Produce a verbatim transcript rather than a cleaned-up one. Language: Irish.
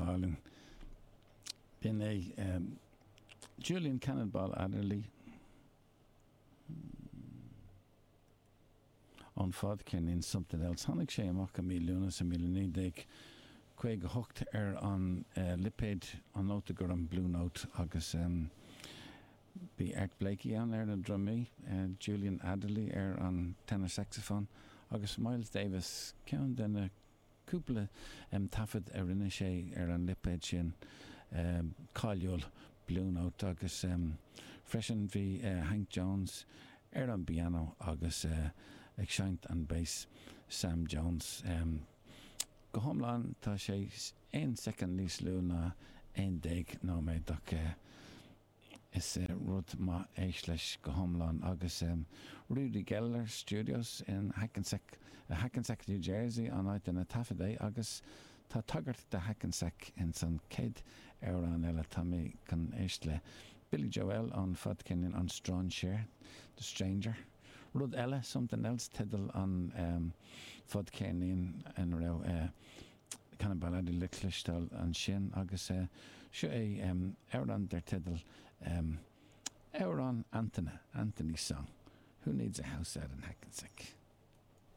Álainn. B'in é Julian Cannonball Adderley ón fadcheirnín Something Else. Tháinig sé amach i mí Lúnasa míle naoi déag caoga hocht ar an lipéad an Nóta Gorm Blue Note agus bhí Art Blakey ann ar na drumaí, Julian Adderley ar an tenor saxophone agus Miles Davis, ceann de na cúpla taifead a rinne sé ar an lipéad sin cáiliúil Blue Note agus freisin bhí Hank Jones ar an bpianó agus ag seinnt an bass Sam Jones. Go hiomlán tá sé aon soicind níos lú ná aon déag nóiméad ach is rud maith éist leis go hiomlán agus Rudy Gellar Studios in Hackensack, Hackensack, New Jersey an áit ina taifead é agus tá tagairt do Hackensack ins an chéad amhrán eile tá mé chun éist le Billy Joel ón fadcheirnín An Strainséir, The Stranger. Rud eile, Something Else teideal an fadcheirnín ina raibh Cannonball Adderley le cloisteáil ansin agus seo é amhrán dar teideal Amhrán Antaine, Anthony's Song. Who needs a house out in Hackensack?